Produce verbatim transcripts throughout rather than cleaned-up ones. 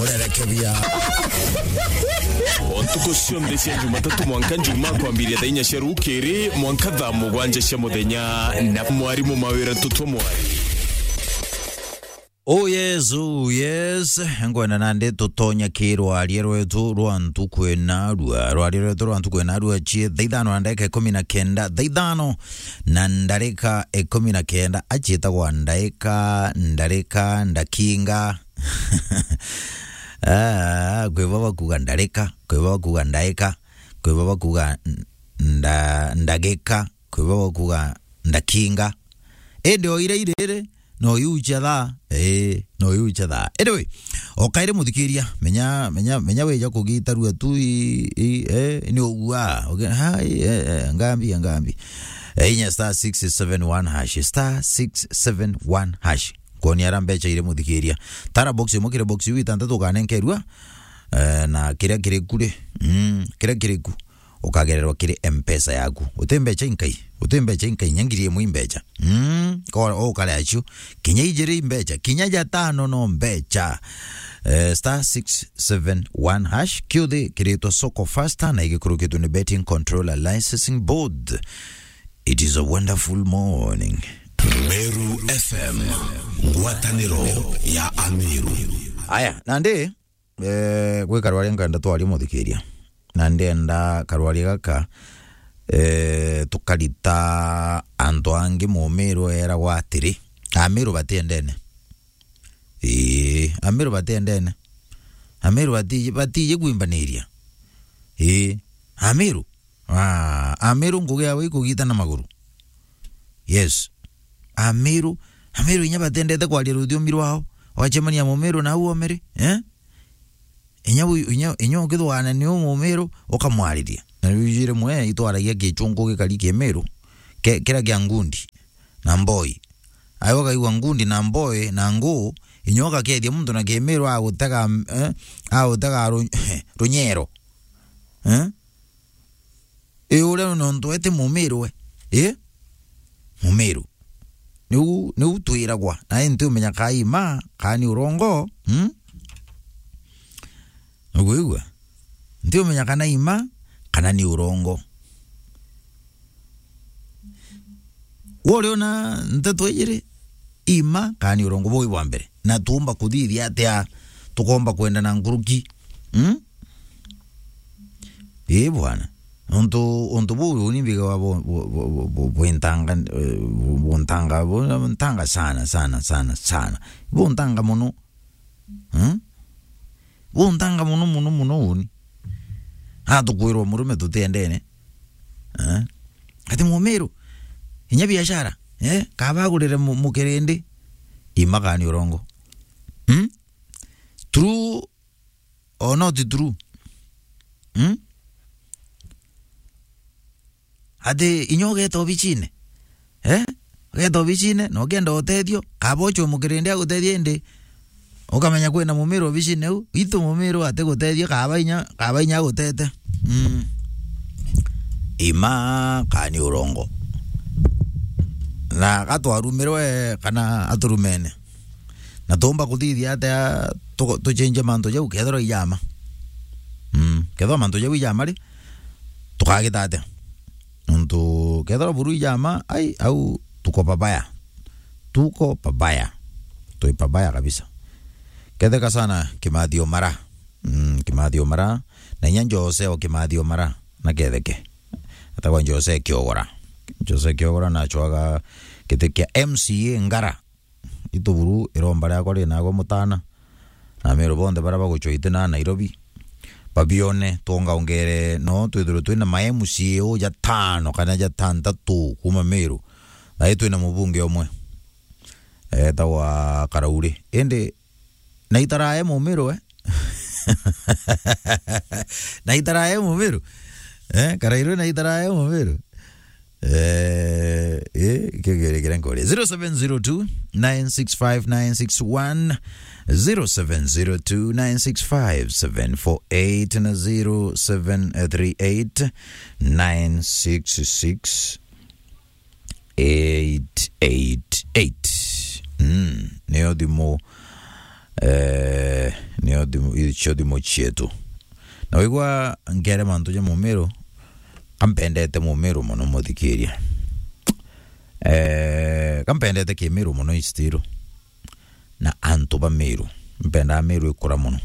Urerekebia. O ntuku cionthe cia Jumatatu mwanka Njuma, kwambiria thaa inya cia rukiri mwanka thaa mugwanja cia muthenya, na mwarimu Mawira Tutwa Mwari. Oh yes, oh yes. Ngwenda nandi tutonya ki rwaria rwetu rwa ntuku ena rua. Rwaria rwetu rwa ntuku ena rua cie thaa ithano na ndagika ikumi na kenda. Thaa ithano na ndarika ikumi na kenda. Aciitagwa ndaika, ndarika, ndakinga. Ah, kwi baba kuga ndarika, kwi baba kuga ndaika, kwi baba kuga nda-, ndagika, kwi baba kuga ndakinga. Indi o ira iriri, no yucha thaa. Ee, no yucha thaa. Anyway, o kairi muthikiria, menya, menya, menya wija kugitarua tu i, i, eh, ni ugua. Uge, ha, i, eh, eh, ngambi, ngambi. Eh, inya star six seven one hash, star six seven one hash. Kwoni ara mbecha iri muthikiria. Tara box imwe kiri box iu itantatu ukanenkerua, eh, na kiria kiri ku ri, mm, kiria kiri ku ukagererwa kiri M-Pesa yaku. Uti mbecha inkai, uti mbecha inkai, nya ngiri imwe i mbecha. Mm, ko ukare acio, kinya ijiri i mbecha, kinya ja tano no mbecha. Eh, star six seven one hash, kiuthi kiritwa Soko Faster na igikurukitwe ni Betting Controller Licensing Board. It is a wonderful morning. Meru F M, ngwataniro ya Ameru. Aya, nandi, eh, gwi karwaria nkenda twaria muthikiria. Na ndienda karwaria gaka, eh, tukarita antu angi Mumiru eragwa atiri, Ameru batiendene. Ii, Ameru batiendene. Ameru bati-, batiji kwimbaniria. Ii, Ameru. Ah, Ameru ngugi yao ikugita na maguru. Yes. Ameru, Ameru inya batendete kwaria ruthiumi rwao. Wacemania Mumiru na au omere, eh? Inya wi-, inya, inya ukithugana ni u Mumiru, ukamwariria. Na riu iji rimwe itwaragia gichungu gikari Kimiru, ke-, kiria kia ngundi na mboi. Ayo ukaigua ngundi na mboi na nguu, inya ugakethia muntu na Kimiru agutega, eh, agutega ru-, runyero. Eh? Ii, uria nontu we ti Mumiru we. Ii? Mumiru. Niu, niu twiragwa. Na ii ntiumenya kaa i ma, kaa ni urongo, mm? Nukwigua? Ntiumenya kana i ma, kana ni urongo. We uriona nteto ijiri, i ma, kana ni urongo, buu i bwa mbere. Na tuumba kuthithia atia tukomba kwenda na nkuruki? Mm? Ii bwana. Untu, untu buu uni mbigawa bu-, bu-, bu-, bu-, bu-, buntanga, eh, bu-, buntanga, bu-, buntanga sana, sana, sana, sana. Buntanga mono. Hmm? Buntanga mono, mono, mono uni. Atukwirwa murume tutiendene. Eh? Ati Mumiru, inya biashara, eh? Kaba agurire mu-, mukirindi. I ma kana ni urongo? Hmm? True or not true? Hmm? Ati inya ugeta obicine? Eh? Ugeta obicine, na ukenda utethio, kaba uchwe mukirindi agutethie indi, ukamenya kwina Mumiru obicine u, itu Mumiru atigutethia, kaba inya, kaba inya agutete. Mm. I ma kana ni urongo? Na gatwarumirwe kana aturumene? Na tuumba kuthithia atia tu-, tuchenje mantu jau kethirwa ijama? Mm, kethirwa mantu jau ijama ri, tukagita atia? Nontu kethirwa buru ijama, ai, au tuko pabaya. Tuko pabaya. Twi pabaya kabisa. Ketheka sana Kimathi Omara. Mm, Kimathi Omara. Na inya Jose o Kimathi Omara. Na ketheke. Atagwa Jose Kiogora. Jose Kiogora nachwaga giti kia M C A Ngara. Itu buru iromba riakwa rinagwa mutana. Na Ameru bonthe baria bagucwa itina Nairobi, babione, twongaongere, no twithirwe twina ma M C A o jatano kana jatantatu kuma Meru. Na i twina mubunge umwe. Etagwa Karauri. Indi na itarae Mumiru, eh? Na itarae Mumiru. Eh, Karauri na itarae Mumiru. Eh, eh, kigere kira nkore. Zero seven zero two, nine six five, nine six one, zero seven zero two, nine six five, seven four eight na zero seven three eight, nine six six, eight eight eight. Mm, niyo thimu Eh, nio thimu, icio thimu cietu. Na wigua nkere mantu ja Mumiru, kampendete Mumiru mono, muthikiria. Eh, kampendete Kimiru mono, istiru. Na antu ba Miru. Mpendaa Miru ikura mono.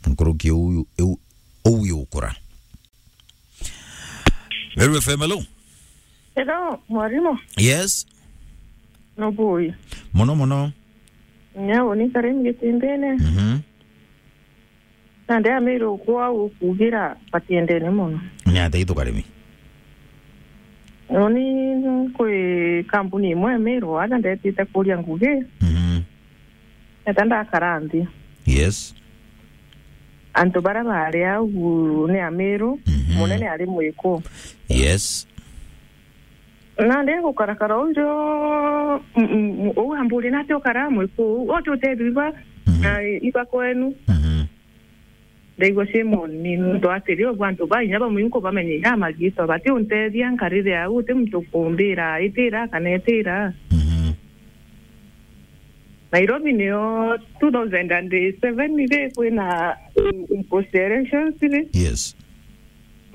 Nkuruki uu, uu, uu yukura. Meru F M, hello. Hello, mwarimu. Yes. No boy. Mono mono. Nyau ni Karemi Gitindene. Mhm. Na nde Amiru kwao kugira batiendene mono. Ni atia itu Karemi? Uni kwi kampuni imwe Amiru, aja ndetite kuria ngugi. Mhm. Eta ndakara nthi. Yes. Antu baria baari au ni Amiru, mhm, munene ari Mwiku. Yes. Na ndi gukarakara uju, mm, mm, uu amburi nati ukara Mwiku, uu ati utethirwa, mhm, na iba kwenu. Mhm. Ndaigua shame on me, nontu atiri, ubu antu ba inya bamwe nkubamenya inya magitwa, bati untethia nkarire au, uti muntu ukumbira, itira kana itira. Mhm. Nairobi nio two thousand and seven ri kwina, um, post elections ri. Yes.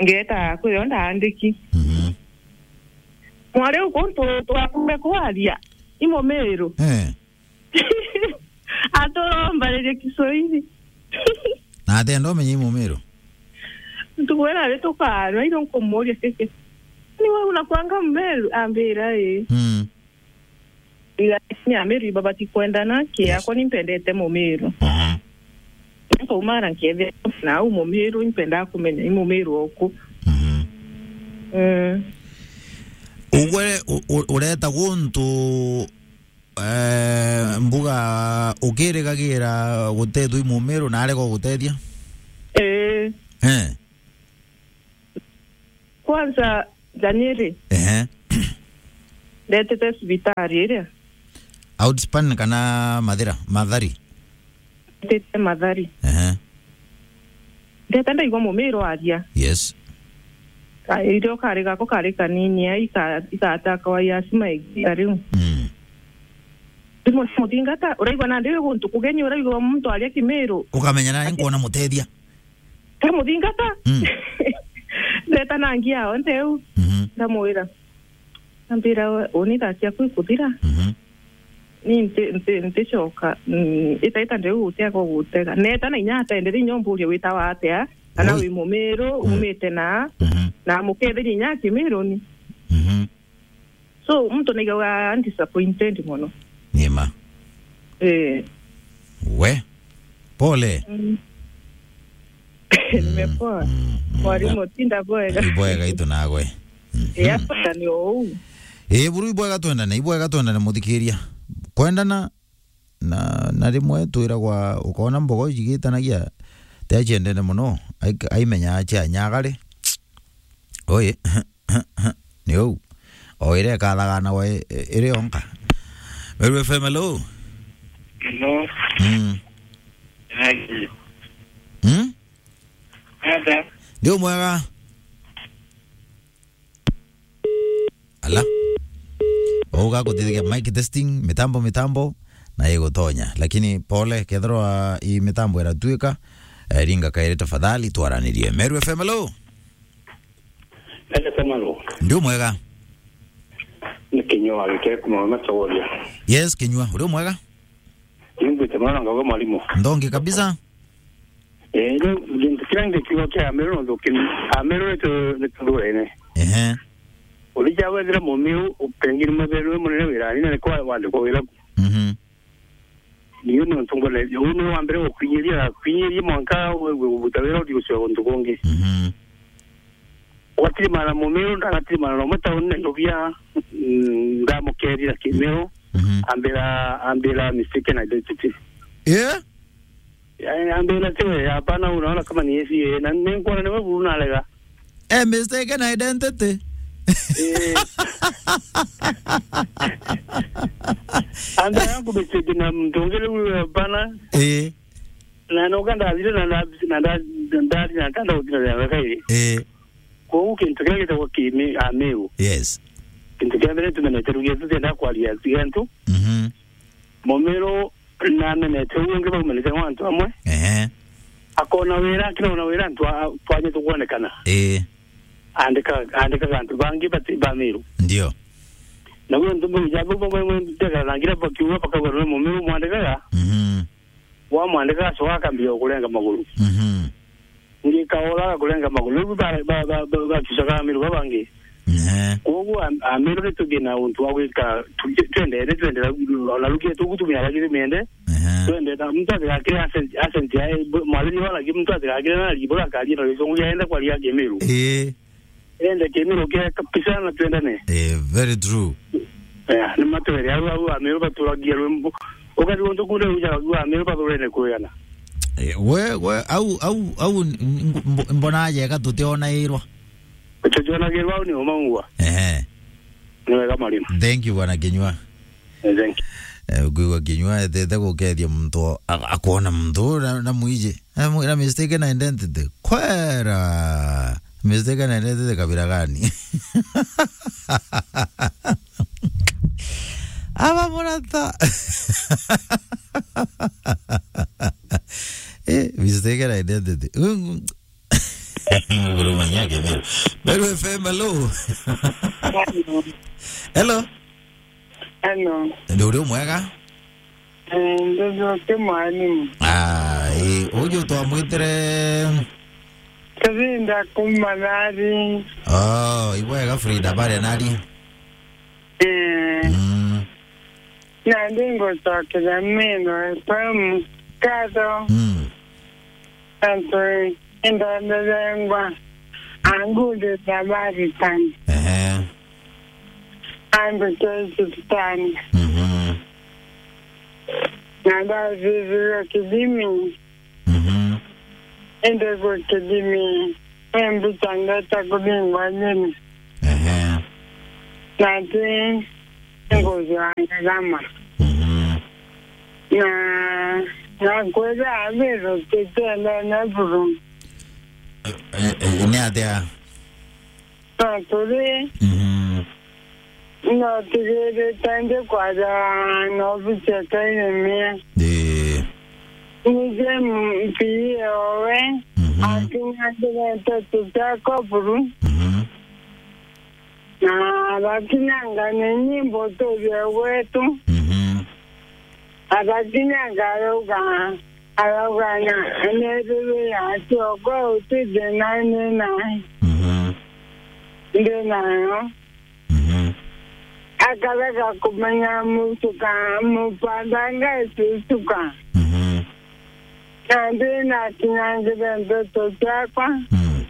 Ngeta kwio ndaandiki. Mhm. Mwari uku ntu twakume kwaria, i Mumiru. Eh. Aturombaririe Kiswahili. Na atenda umenye i Mumiru? Ntukwira ari tukaanwa, ino nkumuria kiki. Ni wewe unakuanga Mumiru? Ambira, "Ii." Mm. Ila ni Amiru iba batikwendana, ki, yes, yakwa ni mpendete Mumiru. Mhm. Nkaumara nkethira na au Mumiru, impendaa kumenya i Mumiru oku. Mhm. Mm. Ugwe u-, u-, ureta guntu, eh, mbuga ukirigagira gutethua i Mumiru na arega gugutethia? Ee. Eh. Kwanza, Danieli, ehe, ndetete cibitari iria. Outspan kana Mathira? Mathari? Ndetete Mathari. Ehe. Ndeta ndaigua Mumiru aria. Yes. Ka-, irio kari gako kari kanini, ai ka-, igataka wa yasima igiita riu. Mm. Ndimuthinga ta, uraigua nandi wi guntu kugeni, uraigua muntu aria Kimiru. Ukamenya nani nkuona mutethia. Ndamuthingata. Mm. Ndeta na ngia onthe u. Mhm. Ndamwira. Ambira, "We, uni thaa ciaku ikuthira." Mhm. Ni nti-, nti-, nticoka, mm, itaita ndeu gutiaga gutega. Neta na inya atendere inya umburie witawa atia, kana, oi, wi Mumiru, mm, umite na, mhm, na muketheria inya Kimiru ni. Mhm. So, muntu naigagua disappointed mono. Ni ma. Eh. We. Pole. Mm. Nimepoa. Mm, mm, mwarimu, tinda bwega. Ibwega itu nagwe. Mhm. Eh, hapa ni ou. Eh, buru ibwega twendane, ibwega twendane muthikiria. Kwendana na, na rimwe twiragwa, ukona mbogo ijigitanagia, tiaciendene mono, ai-, aimenya acia nyagare. Oi, ni ou. O iria ikathagana we, i-, iri yonka. Meru F M, hello. Hello. Mm. Hey. Mm? Ada. Ndi umwega. Ala. Uga kuthikia mic testing, mitambo, mitambo, na igutonya. Lakini pole, kethirwa i mitambo iratuika, eh, ringa kairi tafadhali, twaranirie. Meru F M, hello. Ende Kamaro. Ndi umwega. Ni Kinyua gikire kuma Machogoria. Yes, Kinyua, uri umwega? Nimbwite mwana ngauga mwalimu. Ndongi kabisa. Eh, riu gintu kiria ngikiuga kia Amiru no thuki, Amiru ni tu-, ni tuthurene. Ehe. Urija wethira Mumiru, pengine muthe niwe munene wirani, na ni kwa wandikwa wira ku. Mhm. Niu ni untu ngone, uu ni wa mbere gukwinyiria, kwinyiria mwanka wigue gubuta wira uthi gucua guntu gungi. Mhm. Gwatirimana Mumiru, ndanatirimana na umwe tauni Nairobi aa, mm, ndamukerira Kimiru, mhm, ambira, ambira mistaken identity. Eh? Eh, ambira tiwe, hapana, unaona kama ni yesi, eh, na nikuona niwe buru narega. Eh, mistaken identity. Eh. Anda yangu mistake na mtu ungi riu, hapana. Eh. Na noka ndathire na nda-, na nda-, na ndari na ntanda guthira ya kairi. Eh. Koguo kintu kiria gitagwa Kimi-, Amiru. Yes. Kintu kia mbere tumenete rugia tutienda kwaria tiga antu. Mhm. Mumiru namenete uu ungi baumanite gwa antu amwe. Ehe. Akona wira, akinaona wira antu a-, twanye tukwonekana. Ii. Andika, andikaga antu bangi bati ba Miru. Ndio. Na gwe ntu bau ja bau bamwe ntekara na ngira bakiuga bakauga ni Mumiru mwandikaga. Mhm. Wamwandika acoka akambia kurenga maguru. Mhm. Ngikaora kurenga maguru. Riu ba, ba, ba, ba, bakicoka Amiru babangi. Ehe. Kwoguo Am-, Amiru ni tugie na untu wa gwika, tu-, twendere, twendera, ona rukie tugutumia ragi tumiende. Ehe. Twendera, muntu atigakire accent, accent ya, mwathiri wa ragi, muntu atigakire na ragi, bura akaria na gicongo giaenda kwaria Kimiru. Ii. Ende Kimiru kia kabisa na twendane. Eh, very true. Eh, ni matwere au, au Amiru baturagia rwimbo. Ukari untu kunde uja au Amiru bathurene kwigana. Eh, we, we, au, au, au, n-, n-, mbo-, mbona aje ka tutiona irwa? Tutionagirwa au ni umaungwa. Ehe. Ni wega Marimu. Thank you, Bwana Kinyua. Eh, thank you. Eh, ukiigua Kinyua etete gukethia muntu a-, akwona muntu na, na mwiji. Eh, mwira mistaken identity. Kwera. Mistaken identity kabira gani? Aba murata. Eh, mistaken identity. Nguruma nyake Meru. Meru F M, hello. Hello. Hello. Hello. Ndio uri mwega? Eh, ndio, ndio, ti mwalimu. Ah, eh, uju twamwitire. Kazinda kuma nari. Oh, ibwega Frida, bare nari? Eh. Mm. Na ndingucokera Meru F M nkatho. Mm. Antu indathethengwa angundi na baritani. Ehe. Andu te cibitari. Mhm. Na ndathithirwe kithimi. Mhm. Indi gwi kithimi, ni mbica ndeta kuthingwa nyeni. Ehe. Na ti nguthwa ngarama. Mhm. Na, na kwithira abiro titendene buru. Eh, eh, eh, ni atia? No turi. Mhm. No tigirite ndi kwaja na obici ya Kairemia. Ii. Nije mpii owe, mhm, akinya ndirete tutekwa buru. Mhm. Na abakinyanga ni nyimbo turie gwetu. Mhm. Abakinyanga arauga, arauga na, nethirwe ya cioko uti thina ni nayo. Mhm. Ndi nayo. Mhm. Akarega kumenya mucuka, mupandanga icicuka. Mhm. Na ndi nakinyangire ndeto ciakwa. Mm.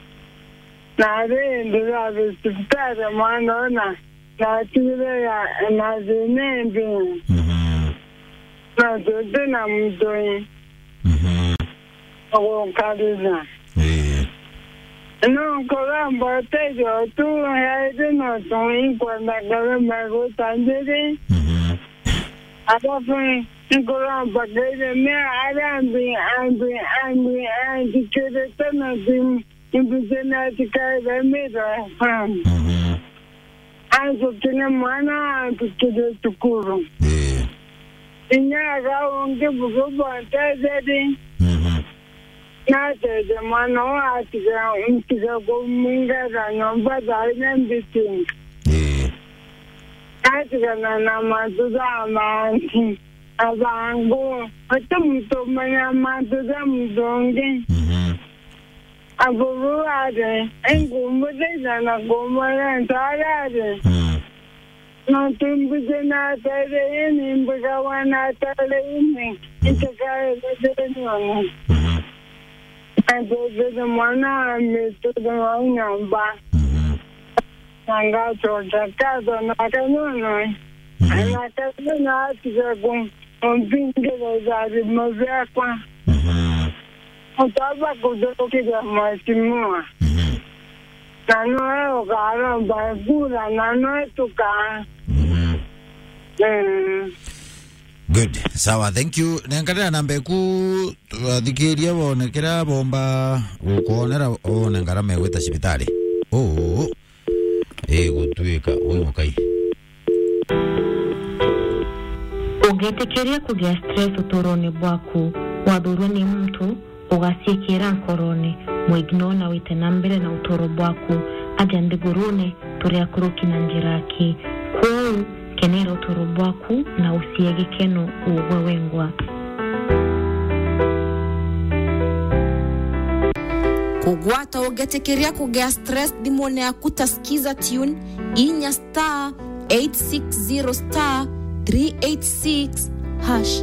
Na ri ndirathi cibitari mwana ona natigire ya, na thina imbi. Mhm. Na tuti na mutui. Mhm. Gukarira. Ii. No nkuromba uteithio tu, yairi no tu inkwenda ngarema guta njiri. Mhm. Alafu nkuromba Kairemia aria ambi, ambi, ambi, anjikirite na thimu, imbici na cikaire Meru F M. Mhm. Anjukire mwana anjukire cukuru. Ii. Inya aga ungi bugu bontetheri. Mhm. Nateje mwana uu atiga, ntiga kumwingata nyomba thaa inya mbiti. Ii. Natigana na mantu ja mangi. Abangu, uti muntu umenya mantu ja muntu ungi. Mhm. Aburu ari, ingumuthaitha na kumwira ntaari ari. Mm. Nontu mbiji na atari ini, mbigagwa na atari ini, mm, itikaire thinione. Mhm. Ntetherie mwana wa mitu wa nyomba. Mhm. Na ngacokia nkatho na kanyono. Mhm. Na kanyono atiga ku-, kumpingirira itharimo biakwa. Mhm. Utaba kuthukiria mheshimiwa. Mhm. Na noe ukaromba kura, na noe tukaa. Mhm. Mm. Good. Sawa, thank you. Nenkanira namba eku, athikiria bone kira bomba gukwonera, one ngarama egwita cibitari. Oh. Igutuika, ui mukai. Ugitikiria kugia stress uturone bwaku, wathurwe ni muntu, ugaciikira nkorone, mwignore na wite na mbere na uturo bwaku. Aja nthigurune, turi akuruki na njira aki. Kwou, kenera uturo bwaku na ucie gikeno ugwe wengwa. Kugwata ugitikiria kugia stress thimune yaku ta Skiza Tune, inya star eight six zero star three eight six hash.